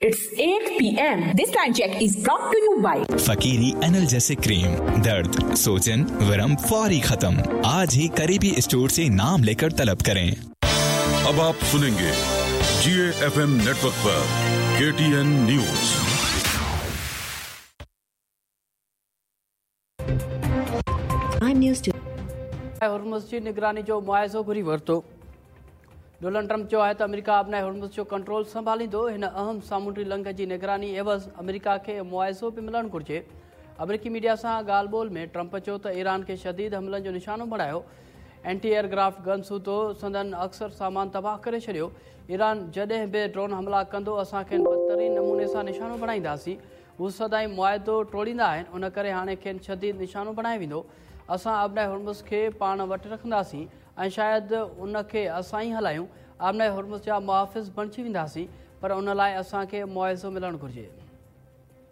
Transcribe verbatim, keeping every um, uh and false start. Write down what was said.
It's eight P M. This time check is brought to you by Fakiri analgesic cream. दर्द, सोजन, वरम फौरी खत्म। आज ही करीबी स्टोर से नाम लेकर तलब करें। अब आप सुनेंगे जी एफ एम नेटवर्क पर K T N news. News two. Hormuz जी निगरानी जो मुआइज़ो घुरी वरितो। डोनाल्ड ट्रंप चयो आहे त अमेरिका आबनाए हुर्मुज़ जो कंट्रोल संभालींदो। हिन अहम सामुंडी लंघ जी निगरानी एवज़ अमेरिका खे मुआइज़ो बि मिलणु घुरिजे। अमेरिकी मीडिया सां ॻाल्हि ॿोल में ट्रंप चयो त ईरान खे शदीद हमलनि जो निशानो बणायो। एंटी एयरक्राफ्ट गन सूधो संदन अक्सर सामान तबाह करे छॾियो। ईरान जॾहिं बि ड्रोन हमला कंदो असां खेनि बदतरीन नमूने सां निशानो बणाईंदासीं। हू सदाई मुआइदो टोड़ींदा आहिनि, उन करे हाणे खेनि शदीद निशानो बणायो वेंदो। असां आबनाए हुर्मुज़ खे पाण वटि रखंदासीं ऐं शायदि उनखे असां ई हलायूं। आबनाए हुर्मुज़ जा मुहाफ़िज़ बणिजी वेंदासीं, पर उन लाइ असांखे मुआइज़ो मिलणु घुरिजे।